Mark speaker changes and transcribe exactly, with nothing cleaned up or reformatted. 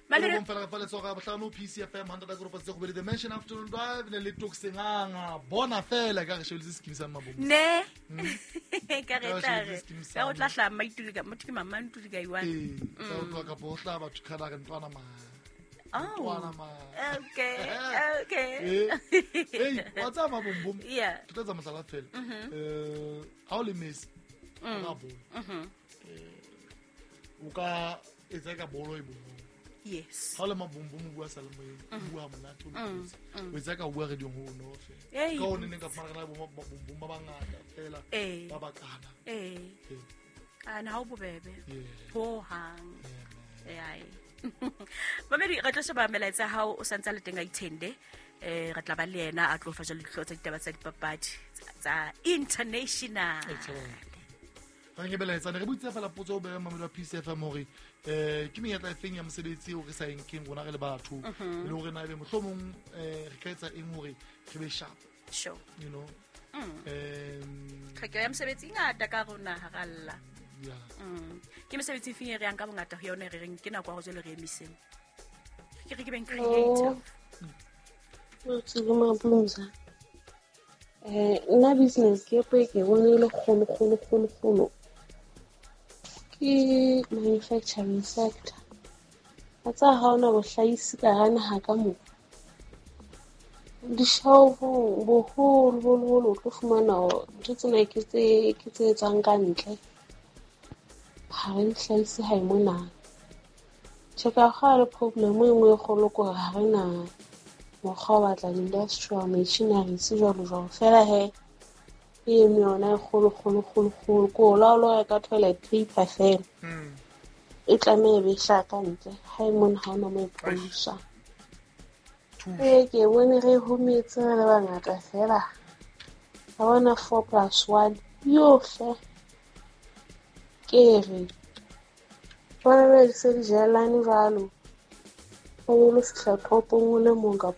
Speaker 1: Mamedi-
Speaker 2: Fela re fa letsogo ya bohlano P C F M hundred ka ropa tse go the Mention Afternoon Drive ne le Tokisenganga bona fela ka re shebeletse scheme sa Mabombo.
Speaker 1: Ne. Ka re
Speaker 2: Ka
Speaker 1: tla
Speaker 2: shebeletse
Speaker 1: re.
Speaker 2: scheme sa
Speaker 1: Ka o tla hlaha Maituli ka motho ke Mama Ntuli ka iwane.
Speaker 2: Ee, tsa o tloha kapo ho hlaha batho khala re ntwana ma.
Speaker 1: Oh.
Speaker 2: Ntwana ma.
Speaker 1: Okay, okay.
Speaker 2: Eh, hey, wa tsaya Mabombom.
Speaker 1: Yeah.
Speaker 2: Ke tlo etsa mohlala fela. Eh, ha o le Messi, o ka bolo. Eh, o ka etsa ka bolo e bonolo.
Speaker 1: Yes.
Speaker 2: Ha o le Mabombom o bua sa le moyeng, o bua ha monate, o loketse. O etsa ka o bua radio-ong ho bonolo fela.
Speaker 1: Ei.
Speaker 2: Ka ho neng ka fumana re na le bo Mabombom ba bangata fela,
Speaker 1: Eh.
Speaker 2: ba bakana.
Speaker 1: Eh.
Speaker 2: Eh.
Speaker 1: Ah, na ha o bobebe.
Speaker 2: Yeah.
Speaker 1: Ho hang.
Speaker 2: Yeah, man.
Speaker 1: Eh, ai. Mamedi, re tlo sheba melaetsa ya hao o santse a le teng a ithende. Eh, re tla ba le yena a tlo fa jwale dihlooho tsa ditaba tsa dipapadi tsa international.
Speaker 2: Excellent. Re nke melaetsa, ne re botsa fela potso o beha mamedi wa P C F M hore, eh, ke menyetla e feng ya mosebetsi eo re sa e nkeng rona re le batho,
Speaker 1: Mhm.
Speaker 2: le hore na ebe mohlomong, eh, re ka etsa eng hore re be sharp.
Speaker 1: Sure.
Speaker 2: You know?
Speaker 1: Mm.
Speaker 2: Em,
Speaker 1: Tlhokeho ya mosebetsi e ngata ka rona ha ra lla.
Speaker 2: Yeah.
Speaker 1: Mm. Ke mesebetsi e feng e re yang ka bongata ho yona e re reng ke nako ya ho jwale re emiseng? Ke re ke beng creative.
Speaker 3: Oh. Tsile Mablumza. Eh, nna business ke e ke bone e le kgolo, kgolo, kgolo, kgolo. Ke manufacturing sector. Wa tseba ha hona bohlahisi ka hara naha ka moo. Dishopong boholo, boholo, boholo o tlo fumana hore ntho tsena ke tse, ke tse etswang ka ntle. Ha re di hlahise hae mona. Tjhe, ka kgale problem e nngwe e kgolo ke hore ha re na mokgwa wa batla di-industrial machineries jwalo jwalo. Feela he, e eme yona e kgolo, kgolo, kgolo, kgolo. Ke o la o lo reka toilet paper feela.
Speaker 2: Hmm.
Speaker 3: E tlameha e be e hlaha ka ntle. Ha e mona ha hona moo e produce-wang. Ee, ke bone re hometse re le bangata feela. Ka bona four plus one yohle. Ke re, bona jwale di se di jelane jwalo. O lo fihla toropong o le mong kapa